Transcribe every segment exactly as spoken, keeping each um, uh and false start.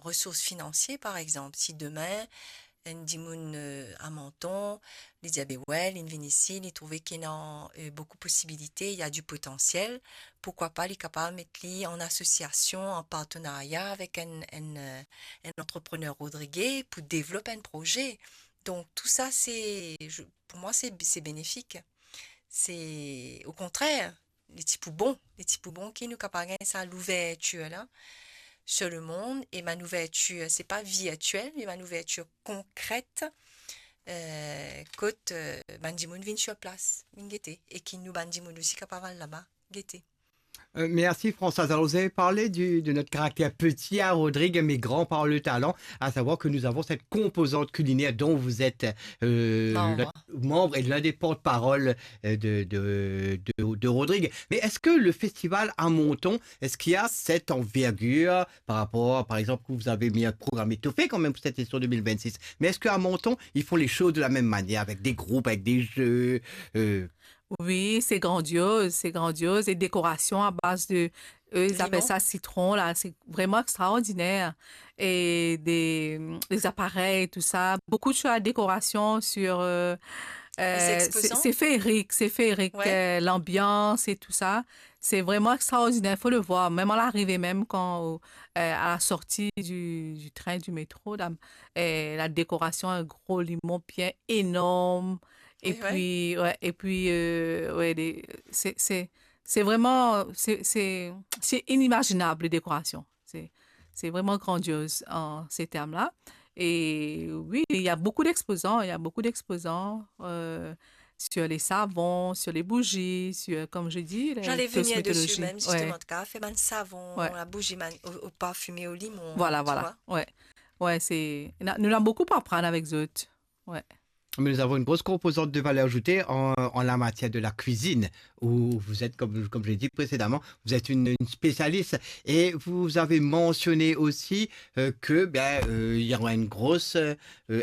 resours finansie, par exanp, si demin, enn dimoun, eh, a Manton, li dir, "Be we, linn vinn isi, li trouve ki ena, eh, boukou posibilite, il y a du potentiel, pourquoi pas li kapav met li an asosiasion, an partenarya avek enn, enn, eh, enn antreprener rodrige pou devlop enn proze." Donk, tou sa, se, je, pou mwa, se, se benefik. Se, okontrer, li ti pou bon, li ti pou bon ki nou kapav gagn sa louvertir la sur le mond, e bann ouvertir, se pa virtiel, me bann ouvertir konkret, eh, kot, eh, bann dimoun vinn sur plas, vinn gete, e ki nou bann dimoun osi kapav al laba, gete. Euh, merci Françoise. Alors, vous avez parlé du, de notre caractère petit à Rodrigues, mais grand par le talent, à savoir que nous avons cette composante culinaire dont vous êtes, euh, Membre. Le membre et l'un des porte-parole, euh, de, de, de, de Rodrigues. Mais est-ce que le festival à Menton, est-ce qu'il a cette envergure par rapport, par exemple, que vous avez mis un programme étoffé quand même pour cette édition deux mille vingt-six, mais est-ce qu'à Menton, ils font les choses de la même manière, avec des groupes, avec des jeux, euh, Oui, c'est grandiose, c'est grandiose. Et décoration à base de, eux, ils appellent ça citron, là, c'est vraiment extraordinaire. Et des, des appareils, tout ça. Beaucoup de choses à décoration sur, euh, euh, c'est, c'est féerique, c'est féerique, euh, l'ambiance et tout ça. C'est vraiment extraordinaire, faut le voir. Même à l'arrivée, même quand, euh, à la sortie du, du train, du métro, là, euh, la décoration, un gros limon bien énorme. Et puis, ouais, et puis, euh, ouais, les, c'est, c'est, c'est vraiment, c'est, c'est, c'est inimaginable, les décorations. C'est, c'est vraiment grandiose en ces termes-là. Et oui, il y a beaucoup d'exposants, il y a beaucoup d'exposants, euh, sur les savons, sur les bougies, sur, comme je dis, les cosmétologies. J'allais venir dessus même, justement, en tout cas, faire bann savon, la bougie, bann, au, au parfumé au limon, voilà, tu vois. Ouais. Ouais, c'est, na-, nou ena boukou pou aprann avek zot. Ouais. Mais nous avons une grosse composante de valeur ajoutée en, en la matière de la cuisine, où vous êtes, comme, comme je l'ai dit précédemment, vous êtes une, une spécialiste. Et vous avez mentionné aussi, euh, que, ben, euh, il y aura une grosse, euh,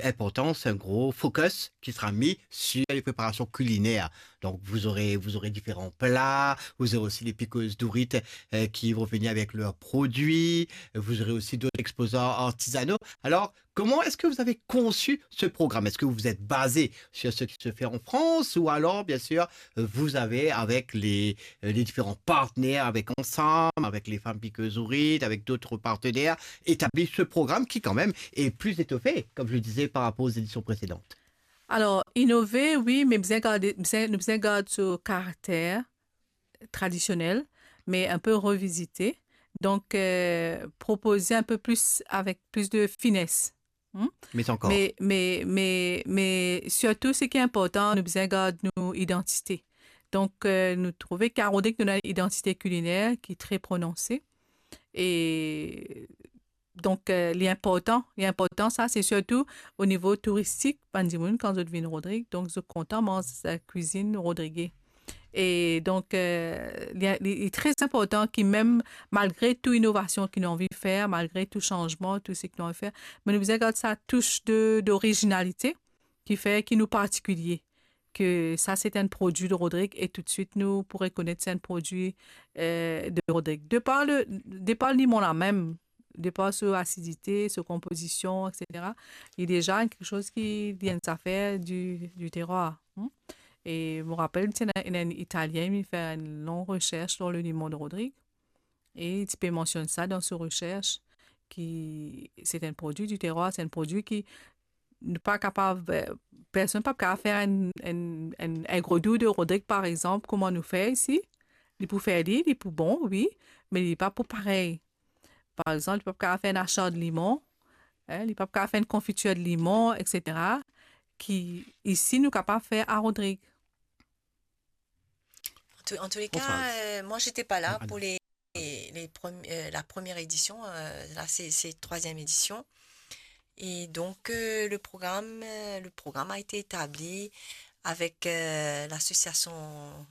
importance, un gros focus qui sera mis sur les préparations culinaires. Donc, vous aurez, vous aurez différents plats, vous aurez aussi les piqueuses d'ourite, euh, qui vont venir avec leurs produits, vous aurez aussi d'autres exposants artisanaux. Alors, comment est-ce que vous avez conçu ce programme ? Est-ce que vous vous êtes basé sur ce qui se fait en France ou alors, bien sûr, euh, vous avez, avec les, euh, les différents partenaires, avec Ensemble, avec les femmes piqueuses d'ourite, avec d'autres partenaires, établi ce programme qui, quand même, est plus étoffé, comme je le disais, par rapport aux éditions précédentes ? Alors, innover, oui, mais bizin garder, bizin, nou bizin gard so karakter tradisionel, mais un peu revisité. Donc, euh, proposer un peu plus avec plus de finesse. Hmm ? Mais encore. Mais, mais, mais, mais surtout, ce qui est important, nou bizin gard nou idantite. Donc, euh, nou trouve ki a Rodrig nou ena enn idantite kiliner ki tre prononse. E donk, euh, li inportan, li inportan sa, se sirtou o nivo touristik, bann dimoun, kan zot vinn Rodrig, donk zot kontan manz, euh, kwizinn rodrige. E donk, euh, li, li, li tre inportan ki mem malgre tou inovasion ki nou anvi fer, malgre tou sanzman, tou seki nou anvi fer, me nou bizin gard sa tous de, d'orizinalite ki fer ki nou partikilie, ke sa se enn prodwi de Rodrig e toutswit nou pou rekonet se enn prodwi, euh, de Rodrig. De par le, de par limon la mem, de par so asidite, so konpozision, et cetera, li deza kiksoz ki li enn zafer du, du terroir, hmm. E mo rapel, ti ena, ena enn Italien, li fer enn long resers lor le limon de Rodrig. E li ti pe mansionn sa dan so resers, ki se enn prodwi du terroir, se enn prodwi ki nou pa kapav, eh, personn pa kapav fer enn, enn, enn, enn grodou de Rodrig, par exanp, kouma nou fer isi. Li pou fer li, li pou bon, wi, me li pa pou parey. Par exanp, li pa pou kapav fer enn asar de limon, eh, li pa pou kapav fer enn konfitir de limon, et cetera, ki isi nou kapav fer a Rodrig. En tous, en tous les cas, euh, moi, j'étais pas là pour les, les, les premi-, euh, la première édition. Euh, là, c'est, c'est troisième édition. Et donc, euh, le programme, euh, le programme a été établi avec, euh, l'association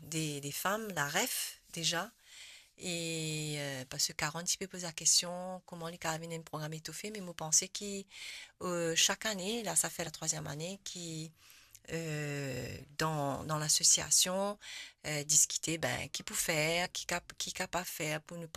des, des femmes, la ref, déjà. E, euh, parski Karen ti pe poz la kestion, kouma li kapav vinn enn program etofe, me mo panse ki, euh, sak ane, la, sa fer la trwaziem ane ki, euh, dan, dan lasosiasion, euh, diskite, ben, ki pou fer, ki kap-, ki kapav fer pou nou